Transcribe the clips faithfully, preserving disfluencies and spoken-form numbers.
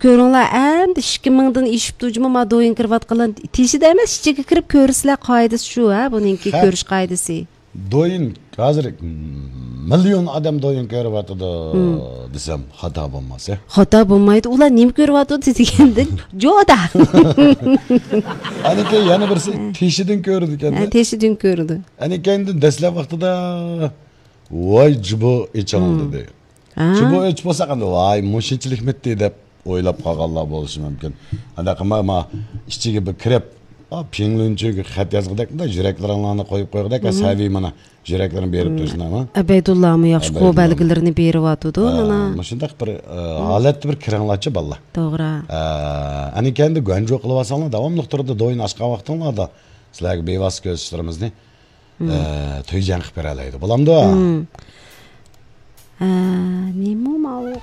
көрүңлөр, эми эки миңдин ишип ужума ма доюн кирип аткан. Тишиде эмес, ичиге кирип көрүсүлөр кайдасы шу, а, бунинки көрүш кайдасы. Доюн азыр миллион адам доюн көрүп атады десем хата болмас, э? Хата болмайды. Улар неме көрүп атады дегенде, жок да. Анеке яна бирси тишиден көрдү экен. Тишиден көрдү. Анекендин деслеп вактыда ой жубу ичалды деп. Жубу эч болса кандай, ай мушинчилик метти деп ойлоп калганлар болушу мүмкүн. Анда кама ичиге бир кирип, пеңлүнчүгү хат жазгыдак да, жүрөклөрүңөрнү коюп койгудак, сави мына жүрөклөрүн берип турсунармы? Абайдулла мы жакшы коо белгилерини берип атыды, мына. Мушундак бир алетти бир кираңлачы балла. Туура. Анекенди гөн жок кылып алсаңар, давамлык турду доюн ачкан вактыңарда силерге бейвас көзчүлөрүмүздү той жаңкып бере алайды. Боламды? Нема мал?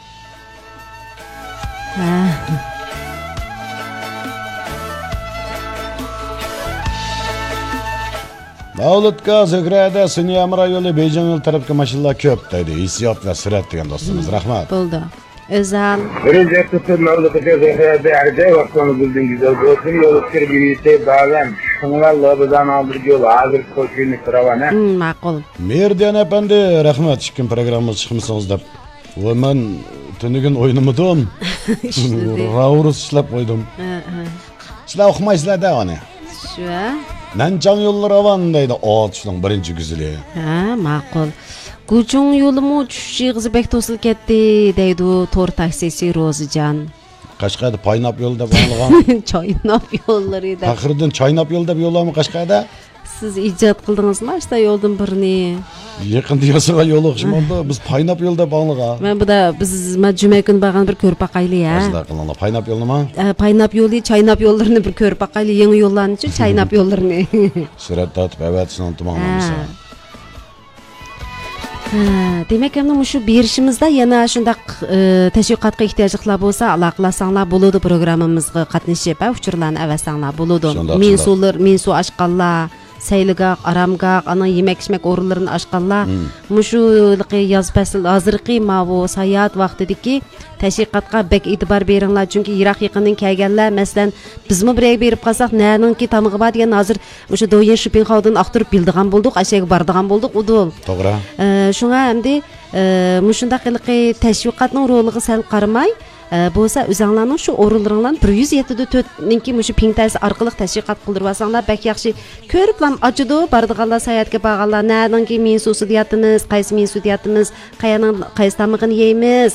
Davlatga Zögrədə Sünyam rayonu Beycanıl tarafı maşallah köp deydi. Hissiyat ve sürat degan dostumuz. Rahmat. Buldu. Özel. Birinci tutun Davlatga Zögrədə arday vaxtını bildiniz. Dostum yolu kirgiriyse bağlan. Şunlarla bizden aldırıcı yolu. Hazır koşuyunu sıravana. Makul. Merdiyan efendi rahmat. Çıkın programımız çıkmışsınız da. O ben tünügün oynumudum. Raurus işlep koydum. Sizler okumaysızlar da onu. Şu. Nancan yollar avan deydi. O tuşun birinci güzeli. Ha, makul. Gucun yolumu çüşüğüzü bek tosul ketdi deydi tor taksisi Rozican. Kaşkaydı paynap yolu da bağlıgan. Çaynap yolları da. Takırdan çaynap yolu da bir yola mı Kaşkayda? Siz icat kıldınız mı işte yoldan birini? Yakın diyasıga yolu okşumandı. Biz paynap yolu da bağlıga. Ben bu da biz cüme gün bağın bir körüp akaylı ya. Azda kılınla paynap yolunu ma? Paynap yolu, çaynap yollarını bir körüp akaylı. Yeni yollarını için çaynap yollarını. Süret atıp evet şunu unutmağlamızsa. Demek ki şu berişimizde yana şundak teşviqatga ihtiyacıqlar bolsa alaqlasаңlar boludu programımızga qatnaşıp uçurlarını əvəsаңlar boludu. Men sular, men su aşqanlar, saylıqaq, aramqaq, ana yemek içmek orunlarını aşqanlar. Muşu yaz fəsil hazırqı mavu sayat vaqtidiki teşviqatga bek itibar beringlar çünki Irak yaqından kelganlar masalan bizmi birey berip qalsaq näninki tamığı bar degan hazır o'sha doyen Şupinxaudun aqtırıp bildigan bolduq, aşağı bardigan bolduq udul. To'g'ri. Şuna endi mushundaq qilqi teşviqatning roliga sal qaramay bo'lsa o'zinglarning shu o'rinlaringdan bir yuz yetti to'rt ninki mushu pingtasi orqali teşviqat qildirib olsanglar bak yaxshi ko'riblam achidu bardiganlar sayatga borganlar näninki men susi deyatimiz, qaysi men su deyatimiz, qayaning qaysi tamig'ini yeymiz,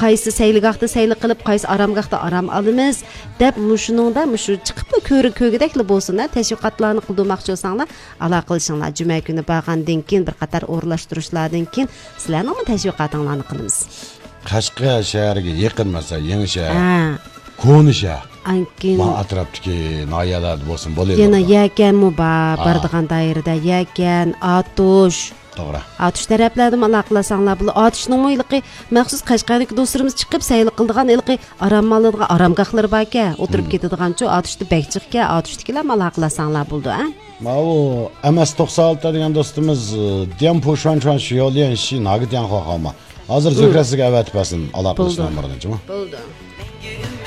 qaysi sayligaqda sayli qilib, qaysi aramgaqda aram olamiz deb mushuningda mushu chiqib ko'ri ko'gidakli bo'lsin teşviqatlarni qildirmoqchi bo'lsanglar aloqa qilishinglar juma kuni borgandan keyin bir qator o'rlashtirishlardan keyin sizlarning teşviqatinglarni qilamiz. Qashqa shahriga yaqin masa yangi shahar. Koni shahar. Ankin. Ma atrofdagi noyalar bo'lsin bo'ladi. Yana yakan mu bor, bardigan doirada yakan, atush. To'g'ri. Atush taraflardan aloqalasanglar, bu atushning mo'yliqi maxsus Qashqardagi do'stlarimiz chiqib sayl qildigan ilqi arammalarga aramgohlar bor-ku, o'tirib ketadigan-chu atushni bekchiqga, atushdikilar aloqalasanglar bo'ldi, ha? Ma u M S to'qson olti degan do'stimiz Dempo shon-shon shu yo'ldan shi nagit yan xo'xama. Hazır zökrəsiga əvət bəsin aloqalashgan birinchi mi? Bo'ldi.